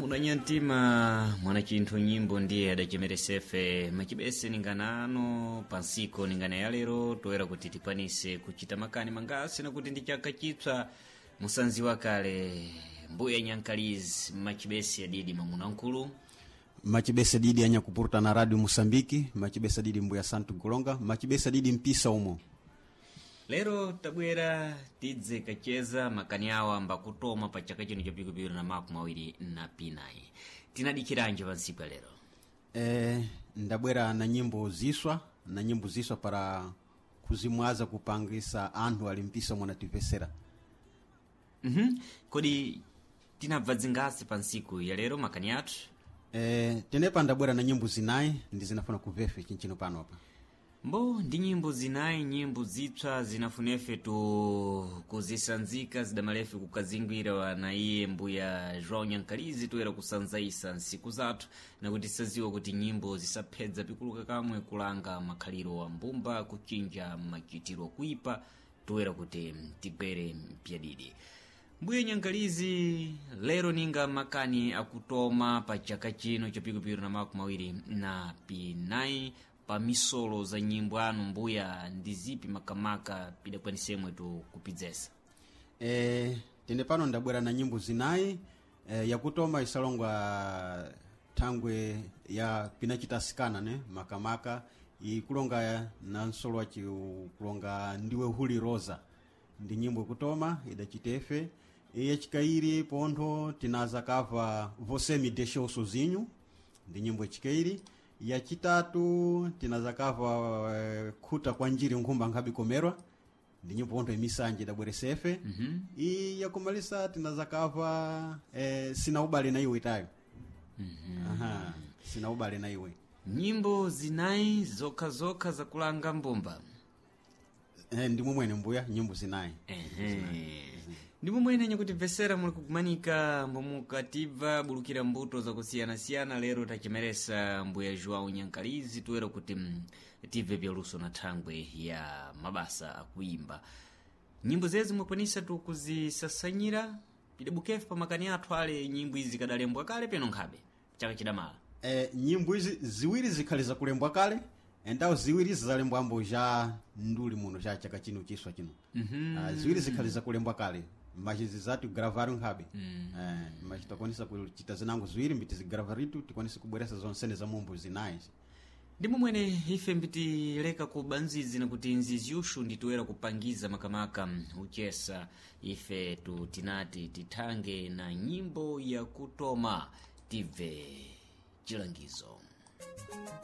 Mamuna nyantima mwana chinthu nyimbo ndiye adachemeresefe machibese ninganano pansiko ningana ya lero toera kuti tikwanise kuchita makani mangasi nakuti ndi chaka chipsa musanziwa kale mbuya nyankalizi machibesi adidi mamuna nkulu. Machibesa didi anyakupurta na Radio Mosambiki, machibesa didi mbuya Santu Golonga, machibesa didi mpisa umo. Lero tabwera tidze kacheza makani awo ambakutoma pa chaka chino cha pikupiri na 29. Tinadikiranji pansiku ya lero? Ndabwera na nyimbo ziswa, na nyimbo ziswa para kuzimwaza kupangisa anthu ali mpisa mwanativesera. Kodi tinabva zingasi pa ntsiku ya lero makani athu? Tenepa ndabwera na nyimbo zinayi ndi zinafuna kuvefe chinchino pano apa. Mbo ndi nyimbo zinayi, nyimbo zipsa zinafunefe tu kuzisanzika zidamalefe kukazingwira na iye mbuya João Nyankalizi toera kusanzaisa nsiku zathu nakuti saziwa kuti nyimbo zisaphedza pikuluka kamwe kulanga makhaliro wa mbumba kuchinja machitiro kuipa toera kuti tigwere mpyadidi. Mbuya Nyankalizi lero ninga makani akutoma pa chaka chino cha pikupiri na 29 pa misolo za nyimbo anu mbuya ndi zipi makamaka pidakwanisemwe tu kupidzesa? Tende pano ndabwera na nyimbo zinayi. Yakutoma isalongwa thangwe ya pinachitasikana ne makamaka ikulonga na nsolo waci kulonga ndiwe huli rosa ndi nyimbo ikutoma idachitefe. Yachikairi pontho tinaza kava Você Me Deixou Sozinho ndi nyimbo yachikairi. Yachitatu tinaza kava Khuta kwa njiri nkhumba nkhabi komerwa ndi nyimbo pontho imisanje idabweresefe. I yakumalisa tinaza kava Sina Ubale na Iwe itayo. Aha, Sina Ubale na Iwe. Nyimbo zinayi zokhazokha zakulanga mbumba. Ndi momwene mbuya nyimbo zinayi. Ndi momwene nyakutimvesera muli kugumanika mbomukatibva bulukira mbuto zakusiyanasiyana. Lero tachemeresa mbuya João Nyankalizi toera kuti tibve byaluso na thangwe ya mabasa akuimba nyimbo zezi mwakwanisa tu kuzisasanyira pidabukefe pa makani athu ale nyimbo izi kadalembwa kale peno nkhabe chaka chidamala. Nyimbo izi ziwiri zikhali zakulembwa kale endawo ziwiri zalembwambo ja nduli muno cha chaka chino chiswa chino. Ziwiri zikhali zakulembwa kale machizi zatu gravaro nkhabe. Machi takwanisa kuchita zinango ziwiri mbiti zigravaritu tikwanise kubweresa zonsene za mumbo zinayi. Ndi momwene ife mbitileka kuba nzizi nakuti nzizi ushu nditoera kupangiza makamaka uchesa ife tu tinati tithange na nyimbo yakutoma tibve chilangizo.